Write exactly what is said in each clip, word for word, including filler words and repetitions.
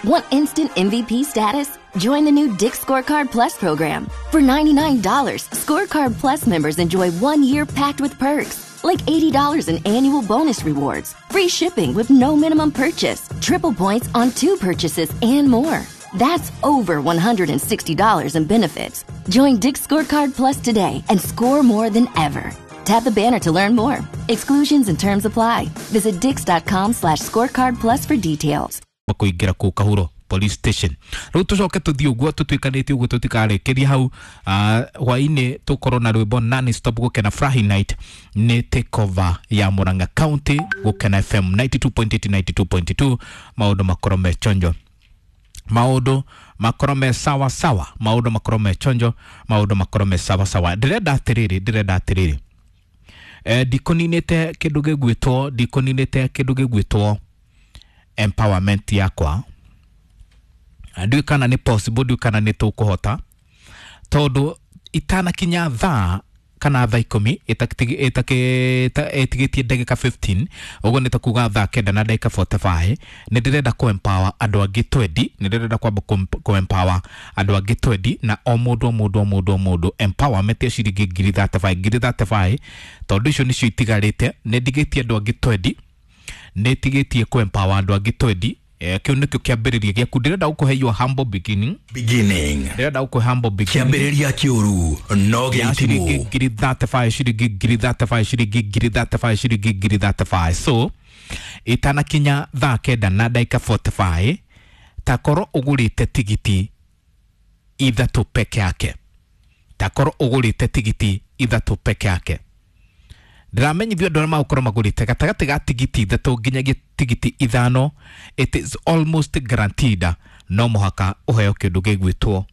Want instant M V P status? Join the new Dick's Scorecard Plus program. For ninety-nine dollars Scorecard Plus members enjoy one year packed with perks, like eighty dollars in annual bonus rewards, free shipping with no minimum purchase, triple points on two purchases, and more. That's over one hundred sixty dollars in benefits. Join Dick's Scorecard Plus today and score more than ever. Tap the banner to learn more. Exclusions and terms apply. Visit dicks dot com slash scorecard plus for details. Kũingĩra kũu Kahuro Police Station. Rĩu tũcoke tũthiĩ ũguo tũtuĩkanĩtie ũguo, tũtikarĩkĩria hau. ah, hwaĩ-inĩ tũkorwo na rwĩmbo non stop Gũkena Furahi Night, nĩ takeover ya Murang'a County, Gũkena F M ninety-two point eight, ninety-two point two. Maũndũ makorwo me chonjo, maũndũ makorwo me sawa sawa, maũndũ makorwo me chonjo, maũndũ makorwo me sawa sawa. Ndĩrenda atĩrĩrĩ, ndĩrenda atĩrĩrĩ, eh, ndikũninĩte kĩndũ gĩgwĩtwo ndikũninĩte kĩndũ gĩgwĩtwo empowerment yakwa. Ndiũĩ kana nĩ possible, ndiũĩ kana nĩ tũkũhota, tondũ itanakinya thaa kana thaa ikũmi ĩtigĩtie ndagĩka fifteen ũguo, nĩ ta kuga thaa kenda na ndagĩka forty-five, nĩ ndĩrenda kũ empower andũ angĩ twenty. Nĩ ndĩrenda kwamba kũ empower andũ angĩ twenty, na o mũndũ o mũndũ o mũndũ o mũndũ empowerment ya ciringi ngiri thirty-five, ngiri thirty-five, tondũ icio nĩcio itigarĩte. Nĩ ndigĩtie andũ angĩ twenty, nĩ tigĩtie kũ empower andũ angĩ twenty. Eh, kĩu nĩkĩo kĩambĩrĩria gĩaku. Ndĩrenda gũkũhe your humble beginning. Beginning. Ndĩrenda gũkũhe humble beginning. Kĩambĩrĩria kĩũru no Ya ciringi gĩitimũ. Ngiri thirty-five, ciringi ngiri thirty-five, ciringi ngiri thirty-five, ciringi ngiri thirty-five. So itanakinya thaa kenda na ndagĩka forty-five, takorwo ũgũrĩte tigiti ithatũ peke yake, takorwo ũgũrĩte tigiti ithatũ peke yake. Ndĩramenyithio andũ arĩa magũkorwo magũrĩte gatagatĩ ga tigiti ithatũ nginyagia tigiti ithano, it is almost guaranteed no mũhaka ũheo kĩndũ gĩgwĩtwo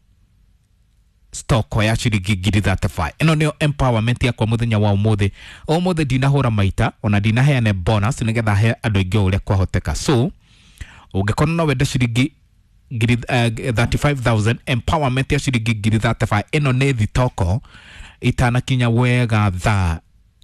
stock ya ciringi ngiri thirty-five. Ĩno nĩyo empowerment yakwa mũthenya wa ũmũthĩ. Ũmũthĩ ndinahũra maita, ona ndinaheane bonus, nĩgetha he andũ aingĩ o ũrĩa kwahoteka. So ũngĩkorwo no wende ciringi ngiri eh, thirty-five thousand, empowerment ya ciringi ngiri thirty-five, ĩno nĩ thitoko. Itanakinya wega thaa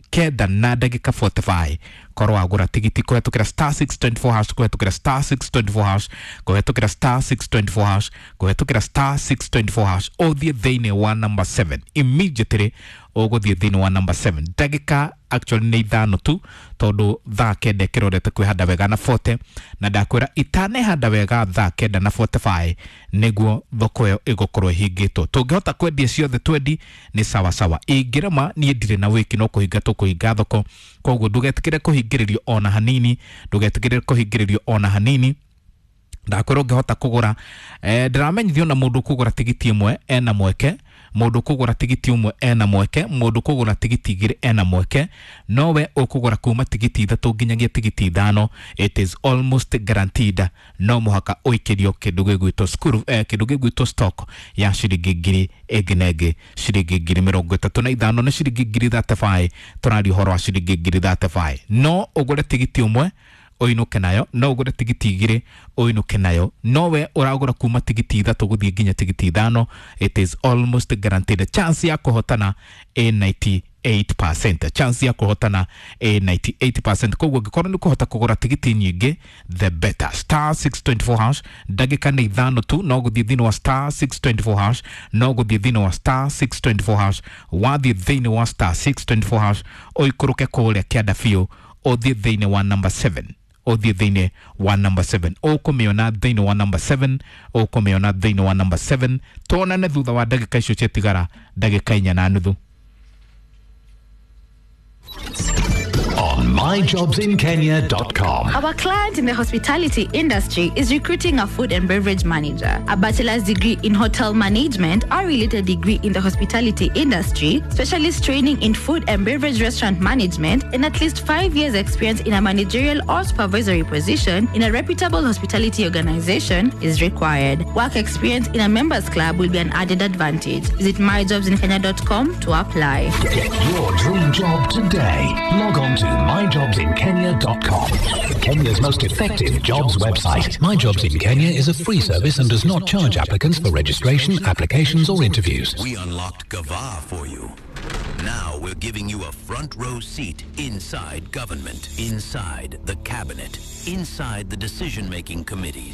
kenda na ndagĩka forty-five, korwo wagũra tigiti kũhetũkĩra star six two four hash, kũhetũkĩra star six two four hash, kũhetũkĩra star six two four hash, kũhetũkĩra star six two four hash, ũthiĩ thĩinĩ wa number seven immediately. Ũgũthiĩ thĩinĩ wa number seven ndagĩka actually nĩ ithano tu, tondũ thaa kenda ĩkĩrorete kwĩhanda wega na forty, na ndakwĩra itanehanda wega thaa kenda na forty-five nĩguo thoko ĩyo ĩgũkorwo ĩhingĩtwo. Tũngĩhota kwendia ciothe twendi nĩ sawa sawa, ingĩrema niĩ ndirĩ na wĩki, no kũhinga tũkũhinga thoko. Koguo ndũgetĩkĩre kũhingĩrĩrio ona hanini, ndũgetĩkĩre kũhingĩrĩrio ona hanini. Ndakwĩra ũngĩhota kũgũra, eh, ndĩramenyithio na mũndũ kũgũra tigiti ĩmwe ena mweke, mũndũ kũgũra tigiti ũmwe ena mweke, mũndũ kũgũra tigiti igĩrĩ ena mweke, nowe ũkũgũra kuma tigiti ithatũ nginyagia tigiti ithano, it is almost guaranteed no mũhaka ũikĩrio kĩndũ gĩgwĩtwo school, eh, kĩndũ gĩgwĩtwo stock ya ciringi ngiri ĩngĩ na ĩngĩ, ciringi ngiri mĩrongo ĩtatũ na ithano. Nĩ ciringi ngiri thirty-five tũraria ũhoro wa ciringi ngiri thirty-five. No ũgũre tigiti ũmwe ũinũke nayo, no ũgũre tigiti igĩrĩ ũinũke nayo, nowe ũragũra kuma tigiti ithatũ gũthiĩ nginya tigiti ithano, it is almost guaranteed. Chance ya kũhotana ĩ ninety-eight percent, chance ya kũhotana ĩ ninety-eight percent. Koguo ũngĩkorwo nĩ kũhota kũgũra tigiti nyingĩ, the better. Star six two four hash, ndagĩka nĩ ithano tu, no gũthiĩ thĩinĩ wa star six two four hash, no gũthiĩ thĩinĩ wa star six two four hash. Wathiĩ thĩinĩ wa star six two four hash, ũikũrũke kũrĩa kĩanda biũ, ũthiĩ thĩinĩ wa number seven, ũthiĩ thĩinĩ wa number seven, ũkũmĩona thĩinĩ wa number seven, ũkũmĩona thĩinĩ wa number seven. Tuonane thutha wa ndagĩka icio ciatigara, ndagĩka inya na nuthu. On my jobs in kenya dot com. Our client in the hospitality industry is recruiting a food and beverage manager, a bachelor's degree in hotel management or related degree in the hospitality industry, specialist training in food and beverage restaurant management, and at least five years' experience in a managerial or supervisory position in a reputable hospitality organization is required. Work experience in a members club will be an added advantage. Visit my jobs in kenya dot com to apply. Get your dream job today. Log on to my jobs in kenya dot com. Kenya's most effective jobs website. My Jobs in Kenya is a free service and does not charge applicants for registration, applications, or interviews. We unlocked Gava for you. Now we're giving you a front row seat inside government, inside the cabinet, inside the decision making committees.